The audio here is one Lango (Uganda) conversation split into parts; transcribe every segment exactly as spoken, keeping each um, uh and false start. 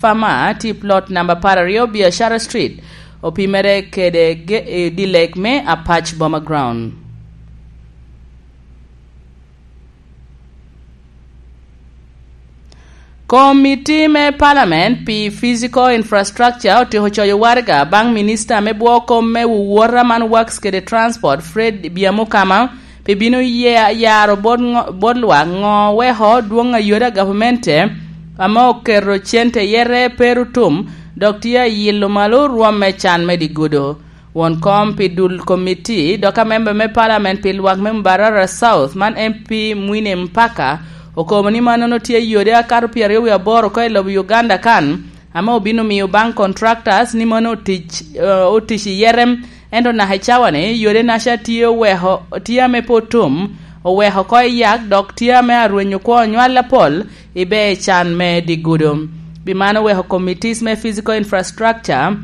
Farmer tye i plot namba apar aryo Biashara Street, opimere kede ge-, eh, dilek me Apac Boma Ground. Komiti me Parliament pi Physical Infrastructure otyeko coyo waraga baŋ Minista me Bwo Kom me Wuwota man Works kede Transport, Fred Byamukama, pi bino ye-, yaro bot ŋo-, bot lwak ŋo weko dwoŋ a yode a gavamente ame oketo cente yere pe ru tum, dok tye ayilo malo rwom me can me digudo. Won kom pi dul komiti, dok amemba me Parliament pi lwak me Mbarara South, man M P Mwine Mpaka, okobo ni mannono tye yode akato pyeraryo wie aboro oko i lobo Uganda kan, ame obino miyo baŋ contractors ni mano otic, eh, otic i yerem, ento naka i cawa-ni, yode naca tye oweko, tye ame pe otum, oweko oko i yak, dok tye ame arwenyo kwo onywal apol i ber can me digudo. Pi mano oweko committees me physical infrastructure,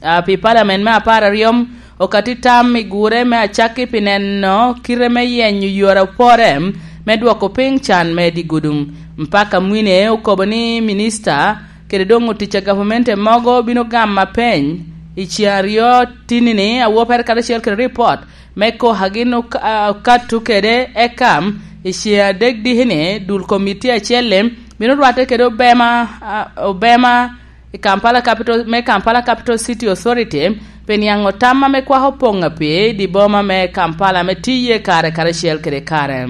ah, pi Parliament me apar aryo okati tam i gure me acakki pi neno kite me yenyo yore opore me dwoko piny can me digudo. Mpaka Mwine okobo ni minista kede doŋ otic a gavamente mogo bino gamo apeny i ceŋ aryo tinini, awopere karacel kede ripot me koka gin ok-, a-, okattu kede, eka i ceŋ adek diki-ni dul komiti acel-li bino rwatte kede obema, a, obema i Kampala Capital, me Kampala Capital City Authority, pi niaŋo tam ame kwako poŋ ape i di boma me Kampala ame tiye kare karacel kede kare.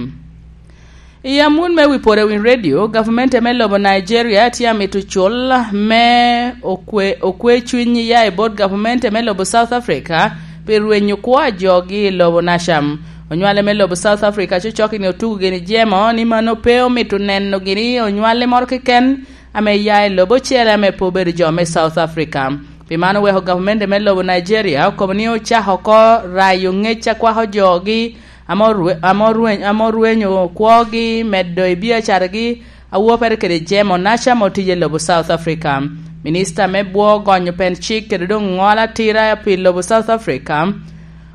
I amut me wi pwod a Winy Radio, gavmente me lobo Nigeria tye amito cul me okwe, okwe cwiny ya i bot gavamente me lobo South Africa pi rwenyo kwo a jogi i lobo Nasham. Onywale me lobo South Africa cocok-ki ni otugo gini jemo ni mano pe omito neno gini onywale moro keken ame ya i lobo ocele ame pe obedo jo me South Africa. Pi man oweko gavamente me lobo Nigeria okobo ni ocako oko rayo ngec a kwako jogi ame orwe-, ame orweny-, ame orwenyo kwogi medo i biacaragi, awopere kede Jemo Naca ame otiyo i lobo South Africa. Minista me bwo gonyo pen cik kede doŋ ŋolo atira pi lobo South Africa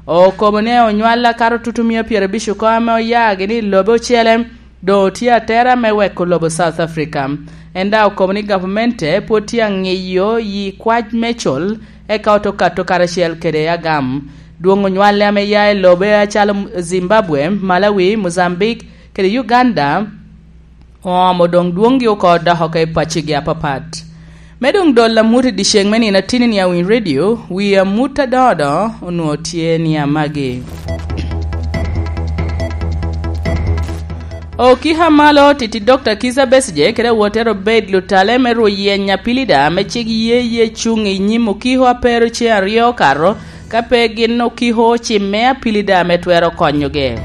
okobo ni onywal akato tutumia pyerabic oko ame oya gini i lobe ocele, doŋ otye atera me weko lobo South Africa. En daŋ okobo ni gavamente pwod tye aŋiyo yi kwac me col, eka oto kato karacel kede agam. Dwoŋ onywale ame ya i lobe acalo Zimbabwe, Malawi, Mozambique, kede Uganda, oomo doŋ dwoŋgi oko dok oko i paccigi apapat. Me doŋ dol amut i dyeceŋ me nino atinni a Winy Radio, wi amut adoŋo doŋo onwoŋo tye ni amagi. Okika malo titi Dokta Kizza Besigye kede awotere obed lutale me rwo yeny apilida ame cik ye ye cuŋ i nyim okiko a pero ceŋ aryo okato, ka pe gin okiko ocimme apilida ame twero konyogi.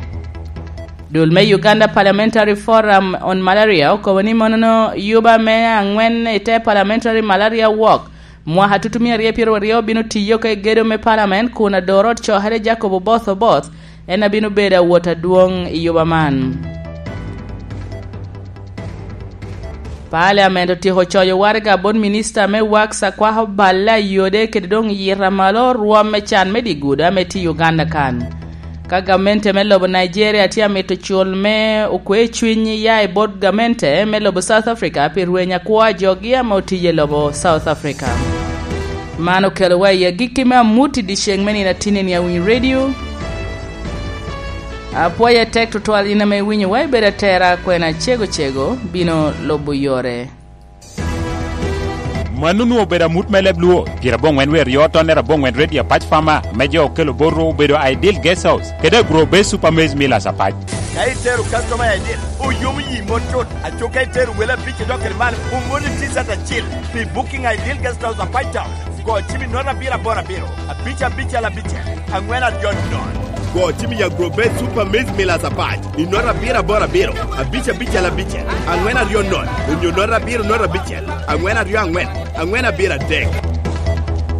Dul me Uganda Parliamentary Forum on Malaria okobo ni monono yuba me aŋwen i te Parliamentary Malaria Walk mwaka tutumia aryo pyeraryo bino tiyo oko i gedo me Parliament kun ador ot cokere Jacob Oboth Oboth en abino bedo awot adwoŋ i yuba man. Parliament otyeko coyo waraga bot minista me Works a kwako balle a yode kede doŋ yita malo rwom me can me digudo ame tye i Uganda kan. Ka gamente me lobo Nigeria tye amito cul me okwe cwiny ya i bot gamente me lobo South Africa pi rweny akwo a jogi ame otiyo i lobo South Africa. Man okelowa i agikki me amut i dyeceŋ me nino atinni a Winy Radio. Apwoye tek tutwal in ame iwinyowa, ibedo atera kwena cego cego bino lubo yore. Mano onwoŋo obedo amut me leb Luo, pyeraboŋwen wie aryo tonnere aboŋwen Redio Apac Farmer, ame jo okelo botwu obedo Ideal Guest House, kede Agro Base Super Maize Millers Apac. Ka itero customer i Ideal, oyomo yi mot tut, aco ka itero wele abic idok kede man, omoni T-shirt acil pi booking Ideal Guest House Apac Town. Go cim i note abiro aboro abiro, abic abicel abicel, aŋwen aryo nono. Go cim i Agro Base Super Maize Millers Apac i note abiro aboro abiro, abic abicel abicel, aŋwen aryo nono, onyo note abiro note abicel, aŋwen aryo aŋwen, aŋwen abiro adek.